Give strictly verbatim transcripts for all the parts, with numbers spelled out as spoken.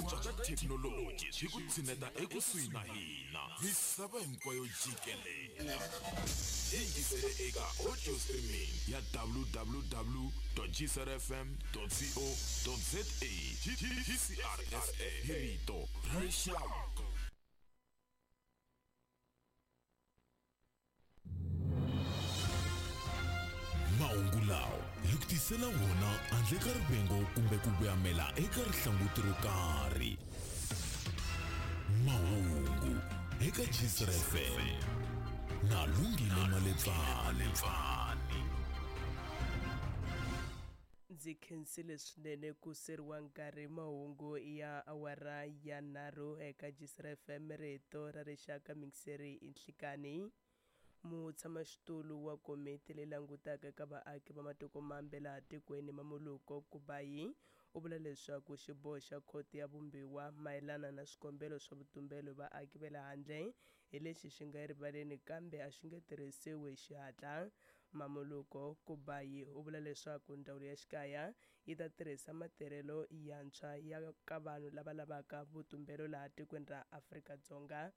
cinca ka thekinoloji swi ku tshineta ekusuhi na hina. Misava hinkwayo jikelele. Yingisele eka audio streaming ya w w w dot g c r f m dot co dot z a. G C R F M hi rito ra rixaka. Mahungu lawa hi ku tisela wona handle ka rivengo kumbe ku vuyamela eka rihlanguti ro karhi. Mahungu eka G C R F M na Lungile Maletsani. Ndzi khensile swinene ku seriwa nkarhi mahungu ya awara ya nharhu eka G C R F M rito ra rixaka mingiseri inhlikani. Mutshamaxitulu wa komiti leyi langutaka ka vaaki va matiko mambe laha tikweni Mamoloko Kubayi u vula leswaku xiboho xa khoto ya vumbiwa mayelana na swikombelo swa vutumbelo vaaki va le handle hi lexi xi nga erivaleni kambe a xi nge tirhisiwi hi xihatla. Mamoloko Kubayi u vula leswaku ndzawulo ya xikaya yi ta tirhisa matirhelo yantshwa ya ka vanhu lava lavaka vutumbelo laha tikweni ra Afrika-Dzonga.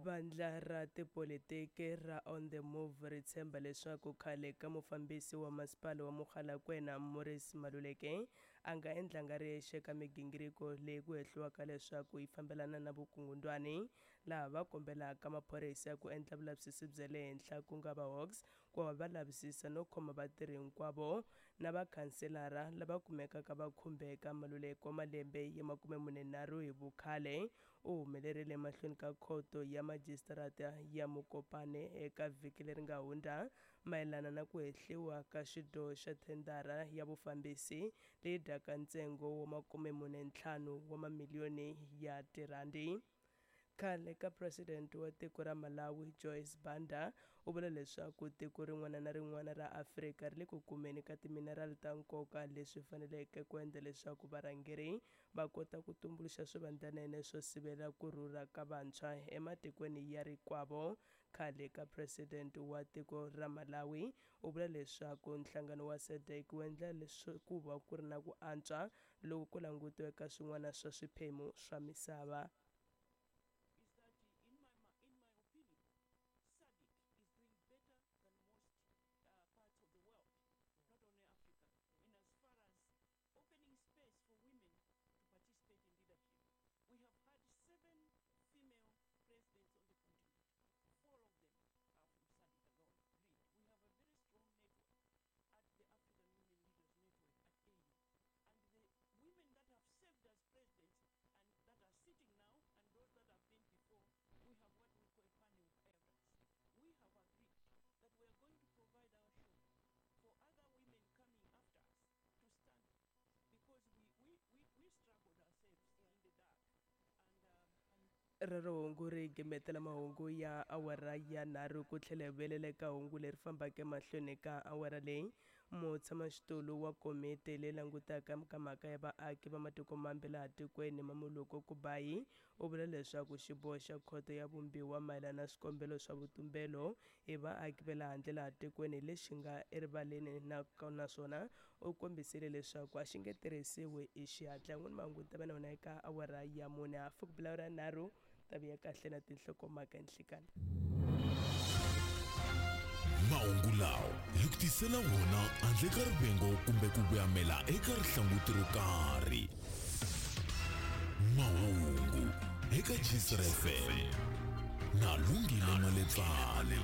Vandla ra tipolitiki ra On The Move ri tshemba leswaku khale ka mufambisi wa masipala wa Mogalakwena Morris Maluleke a nga endlanga riyexe ka migingiriko leyi ku hehliwaka leswaku yi fambelana na vukungundwani, laha va kombelaka maphorisa ku endla vulavisisi bya le henhla ku nga va Hawks ku va va lavisisa no khoma vatirhi hinkwavo na vakhanselara lava kumekaka va khumbeka. Maluleke wa malembe ya makume mune nharhu hi vukhale u humelerile mahlweni ka khoto ya majisitarata ya Mokopane eka vhiki leri nga hundza mayelana na ku hehliwa ka xidyoho xa thendara ya vufambisi leyi dyaka ntsengo wa makume mune ntlhanu wa mamiliyoni ya tirhandi. Khale ka president wa tiko ra Malawi Joyce Banda u vula leswaku tiko rin'wana na rin'wana ra Afrika ri le ku kumeni ka timinerali ta nkoka leswi faneleke ku endla leswaku varhangeri va kota ku tumbuluxa swivandlanene swo sivela ku rhurha ka vantshwa ematikweni ya rikwavo. Khale ka president wa tiko ra Malawi u vula leswaku nhlangano wa S A D C wu endla leswaku va ku ri na ku antswa loko ku langutiwe ka swin'wana swa swiphemu swa misava. Rero hungu ri gimetela mahungu ya awara ya nharhu ku tlhela hi vuyelela eka hungu leri fambaka emahlweni ka awara leyi. Mutshamaxitulu wa komiti leyi langutaka ka mhaka ya vaaki va matiko mambe laha tikweni Mamoloko Kubayi u vula leswaku xiboho xa khoto ya vumbiwa mayelana na swikombelo swa vutumbelo hi vaaki va le handle laha tikweni lexi nga erivaleni naswona u kombisile leswaku a xi nge tirhisiwi hi xihatla. N'wini mahungu ta va na wona eka awara ya mune hafu ku bila awara nharhu ta vuya kahle na tinhlokomhaka nhlikani. Mahungu lawa hi ku tisela wona handle ka rivengo kumbe ku vuyamela eka rihlanguti ro karhi. Mahungu eka G S F M na Lungile Maletsani.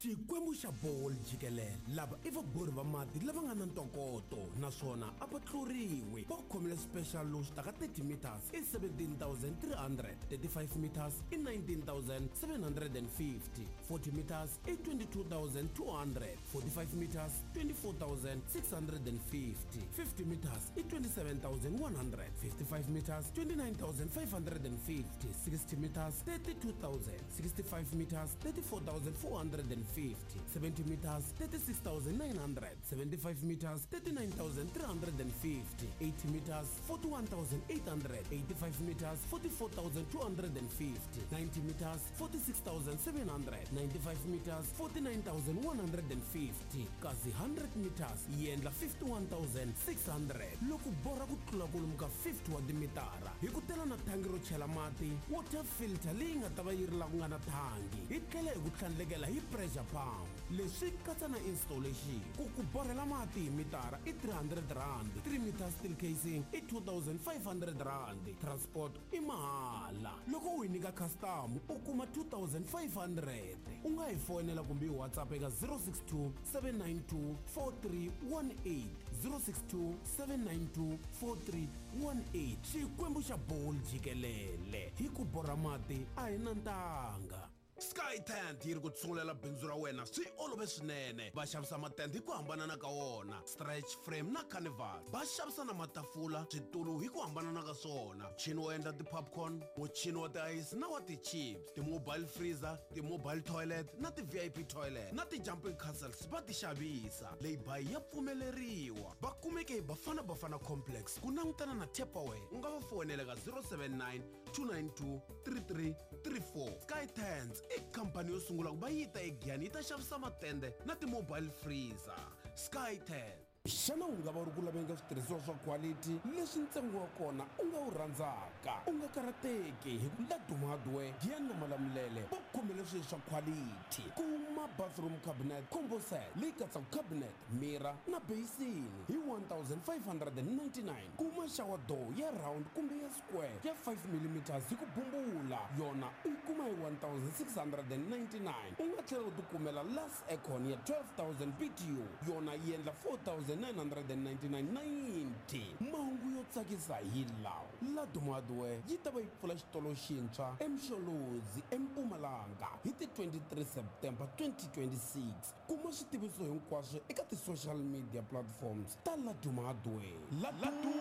Xikwembu xa bolo jikelele, lava i vabori va mati lava nga na ntokoto naswona a va tluriwi. Va khomile special lowu xi taka thirty meters i seventeen thousand three hundred, thirty-five meters i nineteen thousand seven hundred and fifty, forty meters i twenty-two thousand two hundred, forty-five meters twenty-four thousand six hundred and fifty, fifty meters i twenty-seven thousand one hundred, fifty-five meters twenty-nine thousand five hundred and fifty, sixty meters thirty-two thousand, sixty-five meters thirty-four thousand four hundred and fifty, seventy meters thirty-six thousand nine hundred, seventy-five meters thirty-nine thousand three hundred and fifty, eighty meters forty-one thousand eight hundred, eighty-five meters forty-four thousand two hundred and fifty, ninety meters forty-six thousand seven hundred, ninety-five meters forty-nine thousand one hundred and fifty, kasi one hundred meters yi endla fifty-one thousand six hundred. Loko borha ku tlula kwalomu ka fifty wa timitara, hi ku tela na thangi ro chela mati, water filter leyi nga ta va yi ri la ku nga na thangi, hi tlhela hi ku tlhandlekela hi pressure pump. Leswi katsa na installation. Ku ku borhela mati hi mitara i three hundred rand, three meter steel casing i two thousand five hundred rand, transport i mahala. Loko u hi nyika custom u kuma two thousand five hundred. U nga hi fonela kumbe hi WhatsApp eka zero six two seven nine two four three one eight, zero six two seven nine two four three one eight. Xikwembu xa bolo jikelele, hi ku borha mati a hi na ntanga. Sky Tent yi ri ku tsungulela bindzu ra wena swi olove swinene. Va xavisa matende hi ku hambanana ka wona, stretch frame na canvas. Va xavisa na matafula, switulu hi ku hambanana ka swona, muchini wo endla ti-popcorn, muchini wa tiayisi na wa ti-chips, ti-mobile freezer, ti-mobile toilet na ti-V I P toilet na ti-jumping castles va ti xavisa. Lay-by ya pfumeleriwa. Va kumeke hi Bafana Bafana Complex ku langutana na Tupperware. U nga va fonela ka zero seven nine two nine two three three three four. Sky Tents i khampani yo sungula ku va yi ta eGiyani yi ta xavisa matende na ti-mobile freezer. Sky Tent. Xana u nga va u ri ku laveni ka switirhisiwa swa quality leswi ntsengo wa kona u nga wu rhandzaka? U nga karhateki, hi ku Laduma Hardware Giyani na Malamulele va khomele swilo swa quality. Kuma bathroom cabinet combo set leyi katsaka cabinet, mirror na basin hi one thousand five hundred and ninety-nine. Kuma shower door ya round kumbe ya square ya five millimeters hi ku bumbula, yona u yi kuma hi one thousand six hundred and ninety-nine. U nga tlhela u tikumela glass aircon ya twelve thousand B T U, yona yi endla four thousand nine hundred and ninety-nine ninety. Mahungu yo tsakisa hi lawa: Laduma Hardware yi ta va yi pfula xitolo xintshwa eMsholozi eMpumalanga hi ti twenty-three September twenty twenty-six. Kuma switiviso hinkwaswo eka ti-social media platforms ta Laduma Hardware. Laduma,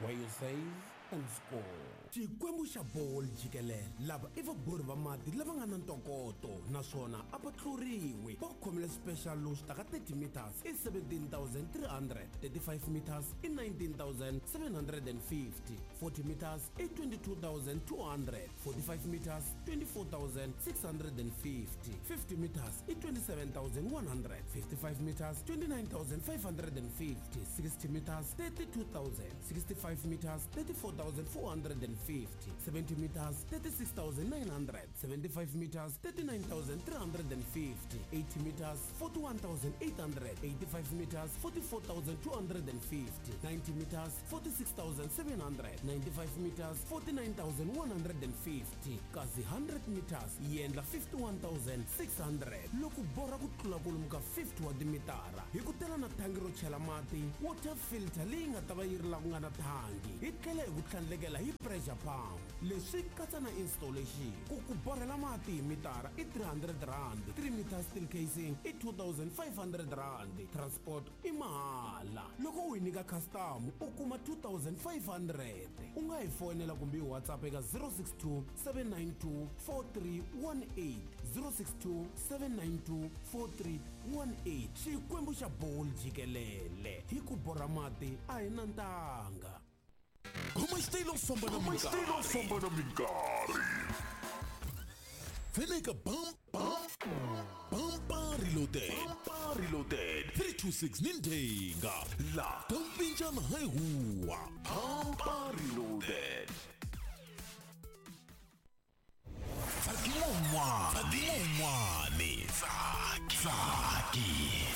where you save and score. Xikwembu xa bolo jikelele, lava i vabori va mati lava nga na ntokoto naswona a va tluriwi. Va khomile special lowu xi taka thirty meters i seventeen thousand three hundred, thirty-five meters i nineteen thousand seven hundred and fifty, forty meters i twenty-two thousand two hundred, forty-five meters twenty-four thousand six hundred and fifty, fifty meters i twenty-seven thousand one hundred, fifty-five meters twenty-nine thousand five hundred and fifty, sixty meters thirty-two thousand, sixty-five meters thirty-four thousand four hundred and fifty, seventy meters thirty-six thousand nine hundred, seventy-five meters thirty-nine thousand three hundred and fifty, eighty meters forty-one thousand eight hundred, eighty-five meters forty-four thousand two hundred and fifty, ninety meters forty-six thousand seven hundred, ninety-five meters forty-nine thousand one hundred and fifty, kasi one hundred meters yi endla fifty-one thousand six hundred. Loko borha ku tlula kwalomu ka fifty wa timitara, hi ku tela na thangi ro chela mati, water filter leyi nga ta va yi ri la ku nga na thangi, hi tlhela hi ku tlhandlekela hi pressure pump. Leswi katsa na installation. Ku ku borhela mati hi mitara i three hundred rand, three meter steel casing i two thousand five hundred rand, transport i mahala. Loko u hi nyika custom u kuma two thousand five hundred. U nga hi fonela kumbe hi WhatsApp eka zero six two seven nine two four three one eight, zero six two seven nine two four three one eight. Xikwembu xa bolo jikelele, hi ku borha mati a hi na ntanga. Khoma xitayilo famba na minkarhi, famba na minkarhi. Veleka bam bam bampa reloaded, bampa reloaded three two six nindenga la tompinjana hi huwa. Bampa reloaded. Mon'wani Mon'wani Tsaki Tsaki.